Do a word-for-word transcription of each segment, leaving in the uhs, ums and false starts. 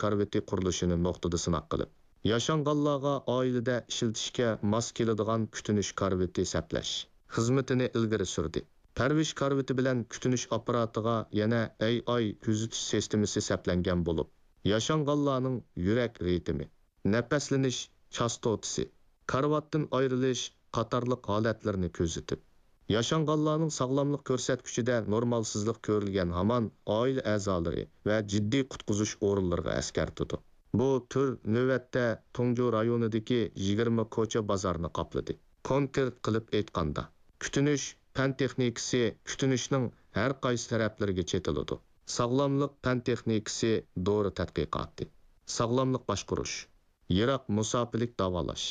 كارىۋىتى قۇرۇلۇشىنى نۇقتىدا سىناق قىلىپ، ياشانغانلارغا ئائىلىدە ئىشلىتىشكە ماس كېلىدىغان كۈتۈنۈش كارىۋىتى سەپلەش خىزمىتىنى ئىلگىرى سۈردى. پەرۋىش كارىۋىتى بىلەن كۈتۈنۈش ئاپپاراتىغا يەنە ئەي ئاي كۆزىتىش سىستېمىسى سەپلەنگەن بولۇپ، ياشانغانلارنىڭ يۈرەك رىتىمى، نەپەسلىنىش چاستوتىسى، كارىۋاتتىن ئايرىلىش قاتارلىق ھالەتلىرىنى كۆزىتىپ، ياشانغانلارنىڭ ساغلاملىق كۆرسەتكۈچىدە نورمالسىزلىق كۆرۈلگەن ھامان ئائىلە ئەزالىرى ۋە جىددىي قۇتقۇزۇش ئورۇنلىرىغا ئەسكەرتىدۇ. بۇ تۈر نۆۋەتتە تۇڭجۇ رايونىدىكى يىگىرمە كوچا بازارنى قاپلىدى. كونكرېت قىلىپ ئېيتقاندا، كۈتۈنۈش پەن تېخنىكىسى كۈتۈنۈشنىڭ ھەر قايسى تەرەپلىرىگە چېتىلىدۇ. ساغلاملىق پەن تېخنىكىسى دورا تەتقىقاتى، ساغلاملىق باشقۇرۇش، يىراق مۇساپىلىك داۋالاش،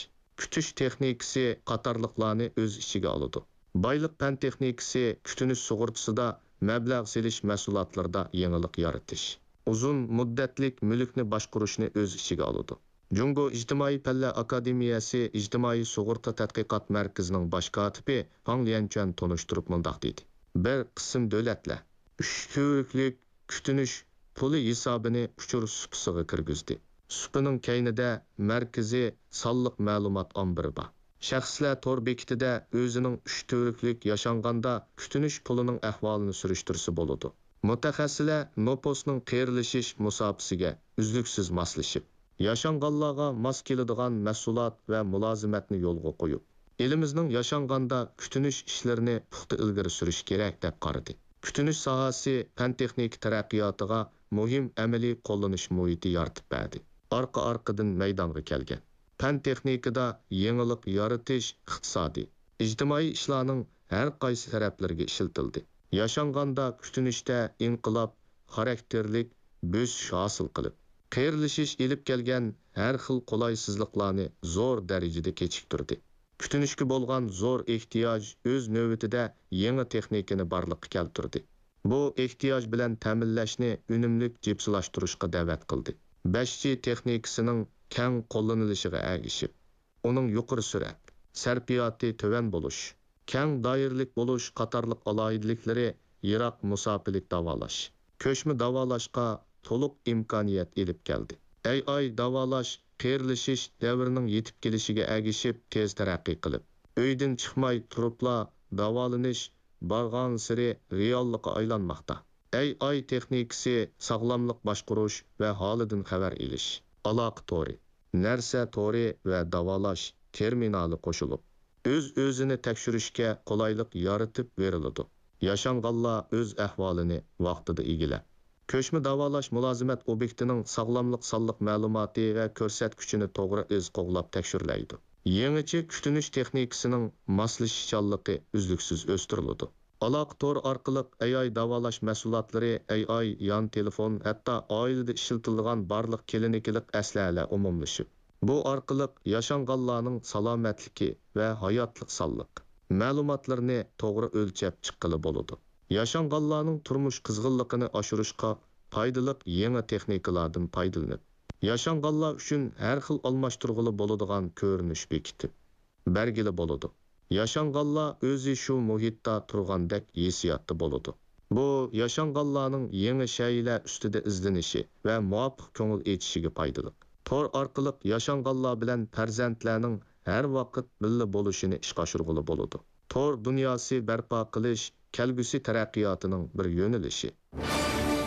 كۈتۈش تېخنىكىسى قاتارلىقلارنى ئۆز ئىچىگە ئالىدۇ. بايلىق پەن تېخنىكىسى كۈتۈنۈش سۇغۇرتىسىدا، مەبلەغ سېلىش مەھسۇلاتلىرىدا يېڭىلىق يارىتىش، ئۇزۇن مۇددەتلىك مۈلۈكنى باشقۇرۇشنى ئۆز ئىچىگە ئالىدۇ. جۇڭگو ئىجتىمائىي پەنلەر ئاكادېمىيەسى ئىجتىمائىي سۇغۇرتا تەتقىقات مەركىزىنىڭ باش كاتىپى فاڭ ليەنچۈەن تونۇشتۇرۇپ مۇنداق دېدى: بىر قىسىم دۆلەتلەر ئۈچ تۈۋرۈكلۈك كۈتۈنۈش پۇلى ھېسابىنى ئۇچۇر سۇپىسىغا كىرگۈزدى. سۇپىنىڭ كەينىدە مەركىزىي سانلىق مەلۇمات ئامبىرى بار. شەخسلەر تور بېكىتىدە ئۆزىنىڭ ئۈچ تۈۋرۈكلۈك ياشانغاندا كۈتۈنۈش پۇلىنىڭ ئەھۋالىنى سۈرۈشتۈرسە بولىدۇ. مۇتەخەسسىسلەر نوپۇسنىڭ قېرىلىشىش مۇساپىسىگە ئۈزلۈكسىز ماسلىشىپ، ياشانغانلارغا ماس كېلىدىغان مەھسۇلات ۋە مۇلازىمەتنى يولغا قويۇپ، ئېلىمىزنىڭ ياشانغاندا كۈتۈنۈش ئىشلىرىنى پۇختا ئىلگىرى سۈرۈشى كېرەك، دەپ قارىدى. كۈتۈنۈش ساھەسى پەن-تېخنىكا تەرەققىياتىغا مۇھىم ئەمەلىي قوللىنىش مۇھىتى يارىتىپ بەردى. ئارقا-ئارقىدىن مەيدانغا كەلگەن پەن-تېخنىكىدا يېڭىلىق يارىتىش ئىقتىسادىي، ئىجتىمائىي ئىشلارنىڭ ھەر قايسى تەرەپلىرىگە ئىشلىتىلدى. ياشانغاندا كۈتۈنۈشتە ئىنقىلاب خاراكتېرلىك بۆسۈش ھاسىل قىلىپ، قېرىلىشىش ئېلىپ كەلگەن ھەر خىل قولايسىزلىقلارنى زور دەرىجىدە كېچىكتۈردى. كۈتۈنۈشكە بولغان زور ئېھتىياج ئۆز نۆۋىتىدە يېڭى تېخنىكىنى بارلىققا كەلتۈردى. بۇ ئېھتىياج بىلەن تەمىنلەشنى ئۈنۈملۈك جىپسىلاشتۇرۇشقا دەۋەت قىلدى. بەش جى تېخنىكىسىنىڭ كەڭ قوللىنىلىشىغا ئەگىشىپ، ئۇنىڭ يۇقىرى سۈرئەت، سەرپىياتى تۆۋەن بولۇش، كەڭ دائىرىلىك بولۇش قاتارلىق ئالاھىدىلىكلىرى يىراق مۇساپىلىك داۋالاش، كۆچمە داۋالاشقا تولۇق ئىمكانىيەت ئېلىپ كەلدى. ئەي ئاي داۋالاش قېرىلىشىش دەۋرىنىڭ يېتىپ كېلىشىگە ئەگىشىپ تېز تەرەققىي قىلىپ، ئۆيدىن چىقماي تۇرۇپلا داۋالىنىش بارغانسېرى رېئاللىققا ئايلانماقتا. ئەي ئاي تېخنىكىسى ساغلاملىق باشقۇرۇش ۋە ھالىدىن خەۋەر ئېلىش، ئالاقە تورى، نەرسە تورى ۋە داۋالاش تېرمىنالى قوشۇلۇپ، ئۆز-ئۆزىنى تەكشۈرۈشكە قولايلىق يارىتىپ بېرىلىدۇ. ياشانغانلار ئۆز ئەھۋالىنى ۋاقتىدا ئىگىلەپ، كۆچمە داۋالاش مۇلازىمەت ئوبيېكتىنىڭ ساغلاملىق سانلىق مەلۇماتى ۋە كۆرسەتكۈچىنى توغرا ئىز قوغلاپ تەكشۈرلەيدۇ. يېڭىچە كۈتۈنۈش تېخنىكىسىنىڭ ماسلىشىشچانلىقى ئۈزلۈكسىز ئۆستۈرۈلىدۇ. ئالاقە تورى ئارقىلىق ئەي ئاي داۋالاش مەھسۇلاتلىرى، ئەي ئاي يان تېلېفون، ھەتتا ئائىلىدە ئىشلىتىلىدىغان بارلىق كلىنىكىلىق ئەسلىھەلەر ئومۇملىشىپ، بۇ ئارقىلىق ياشانغانلارنىڭ سالامەتلىكى ۋە ھاياتلىق سانلىق مەلۇماتلىرىنى توغرا ئۆلچەپ چىققىلى بولىدۇ. ياشانغانلارنىڭ تۇرمۇش قىزغىنلىقىنى ئاشۇرۇشقا پايدىلىق يېڭى تېخنىكىلاردىن پايدىلىنىپ، ياشانغانلار ئۈچۈن ھەر خىل ئالماشتۇرغىلى بولىدىغان كۆرۈنۈش بېكىتىپ، بەرگىلى بولىدۇ. ياشانغانلار ئۆزى شۇ مۇھىتتا تۇرغاندەك ھېسسىياتتا بولىدۇ. بۇ ياشانغانلارنىڭ يېڭى شەيئىلەر ئۈستىدە ئىزدىنىشى ۋە مۇۋاپىق كۆڭۈل ئېچىشىگە پايدىلىق. تور ئارقىلىق ياشانغانلار بىلەن پەرزەنتلەرنىڭ ھەر ۋاقىت بىللە بولۇشىنى ئىشقا ئاشۇرغىلى بولىدۇ. تور دۇنياسى بەرپا قىلىش كەلگۈسى تەرەققىياتىنىڭ بىر يۆنىلىشى.